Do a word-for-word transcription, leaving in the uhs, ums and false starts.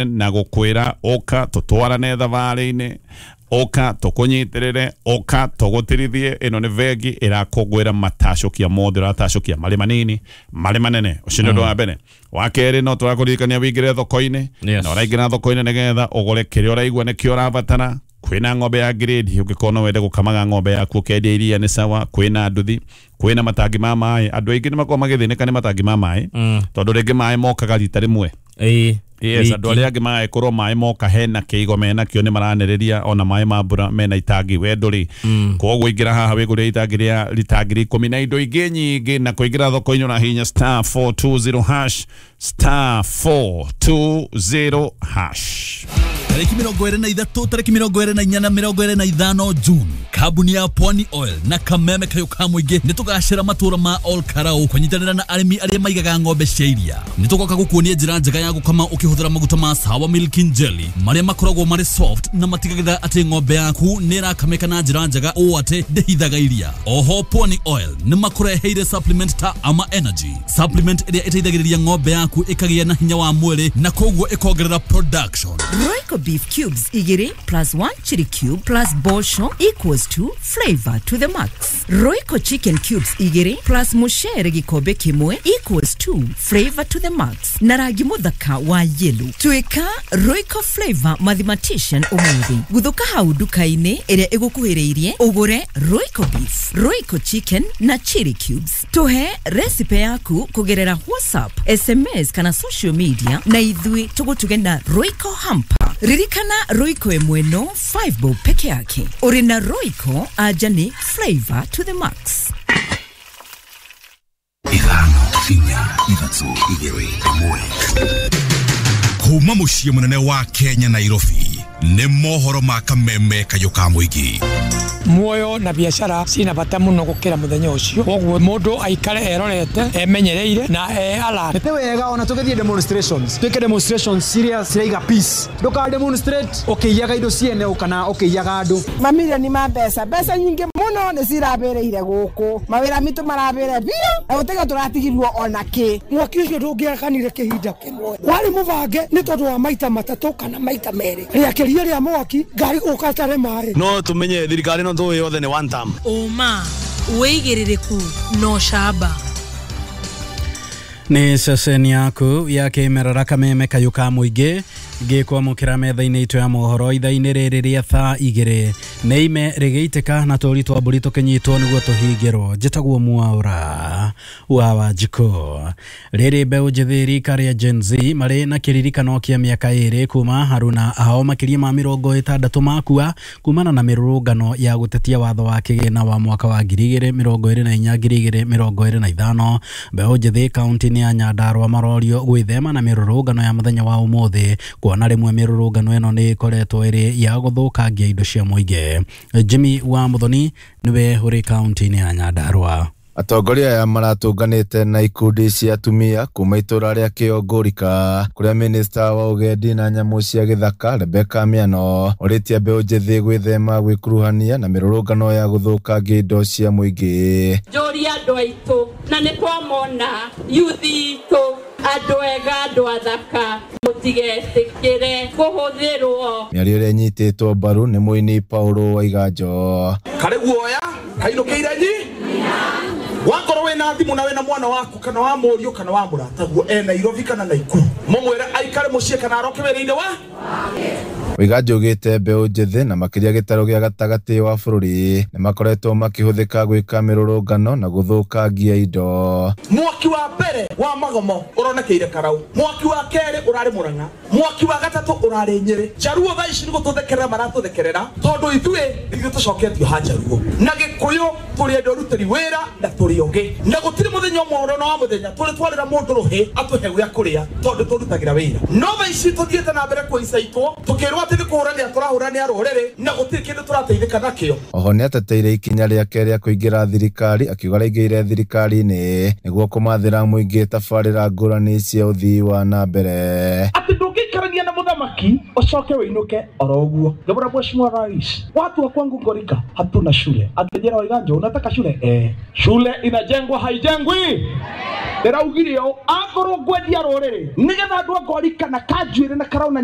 Na gukwira uka tutwarane thabarĩ-inĩ, uka tukunyitirire, uka tugutirithie. Ino ni vengi irakungwira matacũkia mothe ũratacũkia, marĩ manini marĩ manene. Ũcio nĩ ũndũ wa mbere. Wa kerĩ, no tũrakũririkania wĩingĩre thoko-inĩ Yes. na ũraingĩra thoko-inĩ nĩgetha ũgũre kĩrĩa ũraigua nĩkĩo ũrabatara. Kwĩna ng'ombe ya grade, ũngĩkorwo no wende gũkamaga ng'ombe yaku ũkendia iria nĩ sawa. Kwĩna nduthi, kwĩna matangi ma maĩ. Andũ aingĩ nĩ makoragwo magĩthĩnĩka nĩ matangi ma maĩ Mm. tondũ rĩngĩ maĩ mokaga rita rĩmwe. Ĩĩ. Yes, andũ arĩa angĩ magagĩkorwo maĩ moka hena kĩigo menakĩo, nĩ maranĩrĩria ona maĩ ma mbura mena itangi, we ndũrĩ. Koguo ingĩra haha wĩgũrĩre itangi rĩa rita ngiri ikũmi na indo ingĩ nyingĩ. Na kũingĩra thoko-inĩ ũrahihinya star four two zero hash, star four two zero hash. Tarĩki mĩrongo ĩrĩ na ithatũ, tarĩki mĩrongo ĩrĩ na inya na mĩrongo ĩrĩ na ithano June, kambuni ya Pwani Oil na Kameme Kayũ ka Mũingĩ nĩ tũgacĩra matũra ma Ol Karau kũnyitanĩra na arĩmi arĩa maigaga ng'ombe cia iria. Nĩ tũgoka gũkuonia njĩra njega ya gũkama ũkĩhũthĩra maguta ma Sawa Milking Jelly marĩa makoragwo marĩ soft na matigagĩrĩra atĩ ng'ombe yaku nĩ ĩrakamĩka na njĩra njega ũũ atĩ ndĩhithaga iria. Oho Pwani Oil nĩ makũreheire supplement ta Ama Energy supplement ĩrĩa ĩteithagĩrĩria ng'ombe yaku ĩkagĩa na hinya wa mwĩrĩ na koguo ĩkongerera production. Royco beef cubes igiri plus one chili cube plus bosho equals to flavor to the max. Royco chicken cubes igiri plus mushere gikombe kimwe equals to flavor to the max. Na rangi muthaka wa yellow. Tuika Royco flavor mathematician umuthi. Guthuka hau nduka-inĩ ĩrĩa ĩgũkuhĩrĩirie ũgũre Royco beef, Royco chicken na chili cubes. Tuhe recipe yaku kugerera WhatsApp, S M S kana social media na ithuĩ tũgũtuge na Royco hamper. Ririkana, Royco ĩmwe no five bob peke yake. Ũrĩ na Royco anja nĩ flavor to the max. Ithano, inya, ithatũ, igĩrĩ, ĩmwe. Kuma mũciĩ mũnene wa Kenya, Nairobi, nĩ mohoro ma Kameme Kayũ ka Mũingĩ. Muoyo na biacara cina bata muno gukira muthenya ucio, koguo mundu aikare erorete, emenyereire na e alert. Nĩ wega ona tũgĩthiĩ demonstrations, twĩke demonstrations ciria ciraiga peace. Ndũka demonstrate ũkĩiyaga indo ciene kana ũkĩiyaga andũ. Mamirioni ma mbeca, mbeca nyingĩ mũno nĩ cirabĩrĩire gũkũ, mawĩra mitũ marabĩre biũ na gũtiga tũratigirwo ona kĩ. Mwaki ũcio ndũngĩakanire kĩhinda kĩmwe, warĩ mũbange nĩ tondũ wa maita matatũ kana maita merĩ rĩakĩria rĩa mwaki ngari gũka tare maĩ. No tumenye thirikari no tũĩ yothe nĩ one term. Ũma, wĩigĩrĩrĩku na ũcamba. Nĩ ceceni yaku ya kĩmerera, Kameme Kayũ ka Mũingĩ, ngĩkwamũkĩra metha-inĩ itũ ya mohoro ithaa-inĩ rĩrĩ rĩa thaa igĩrĩ. Nĩ ime rĩgĩitĩka na tũri twa mbũri tũkĩnyitwo nĩguo tũhingĩrwo. Njĩtagwo Mwaũra wa Wanjikũ. Rĩrĩ mbeũ njĩthĩ rika rĩa Gen Z marĩ na kĩririkano kĩa mĩaka ĩrĩ kuma haruna ao makĩria ma mĩrongo ĩtandatũ makua kumana na mĩrũrũngano ya gũtetia watho wa kĩgĩna wa mwaka wa ngiri igĩrĩ mĩrongo ĩrĩ na inya, ngiri igĩrĩ mĩrongo ĩrĩ na ithano. Mbeũ njĩthĩ kaunti-inĩ ya Nyandarua marorio gwĩthema na mĩrũrũngano ya mũthenya wa ũmũthĩ, kuona rĩmwe mĩrũrũngano ĩno nĩ ĩkoretwo ĩrĩ ya gũthũkangia indo cia mũingĩ. Jimmy wa Muthoni nĩwe ũrĩ kaunti-inĩ ya Nyandarua. Atongoria aya maratũnganĩte na ikundi cia atumia kuma itũra rĩa Kĩongũrika, kũrĩa minista wa ũgendi na nyamũ cia gĩthaka Rebecca Miano orĩtie mbeũ njĩthĩ gwĩthema gwĩkuruhania na mĩrũrũngano ya gũthũkangia indo cia mũingĩ. Njũria andũ aitũ na nĩ twamona yuthi itũ, andũ ega, andũ athaka, mũtigetĩkĩre kũhũthĩrwo. Mĩario ĩrĩa ĩnyitĩtwo mbaru nĩ mũini Paulo Waiganjo. Karĩ guoya kainũkĩire nyi wakorwo wĩna thimũ na wĩna mwana waku kana wa mũriũ kana wa mũrataguo e Nairobi kana Naikuru, mũmwĩre aikare mũciĩ kana aroke wĩra-inĩ wa Waiganjo augĩte mbeũ njĩthĩ na makĩria gĩtarũ gĩa gatagatĩ wa bũrũri nĩ makoretwo makĩhũthĩka gwĩka mĩrũrũngano na gũthũkangia indo. Mwaki wa mbere wa magomo ũronekeire Karau, mwaki wa kerĩ ũrarĩ Mũrang'a, mwaki wa gatatũ ũrarĩ Nyĩrĩ. Njaruo thaa ici nĩ gũtũthekerera maratũthekerera tondũ ithuĩ ithuĩ tũcoketio ha Njaruo na Gĩkũyũ, tũrĩ andũ arutĩri wĩra na tũrĩ ogĩ, na gũtirĩ mũthenya ũmwe ona wa mũthenya tũrĩ twarĩra mũndũ rũhĩ atũhe gĩa kũrĩa tondũ tũrutagĩra wĩra. No thaa ici tũthiĩte na mbere kũicaitwo tũkĩrwo atĩ nĩ kũhũranĩra tũrahũranĩra rũrĩrĩ na gũtirĩ kĩndũ tũrateithĩka nakĩo. Oho nĩateteire ikinya rĩake rĩa kũingĩra thirikari, akiuga araingĩrire thirikari-inĩ nĩguo kũmathĩra mũingĩ tabarĩra ngũrani cia ũthii wa na mbere. Atĩ ndũngĩikarania na Muthamaki ucoke wiinuke oro uguo. Ngĩmwĩra Mheshimiwa Rais, watu wa kwangu Ngorika hatuna shule. Akĩnjĩra Waiganjo, unataka shule? Eh, shule inajengwa haijengwi? Ndĩraugire ũũ, akorwo ngwendia rũrĩrĩ nĩgetha andũ a Ngorika na Kanjuĩrĩ na Karau na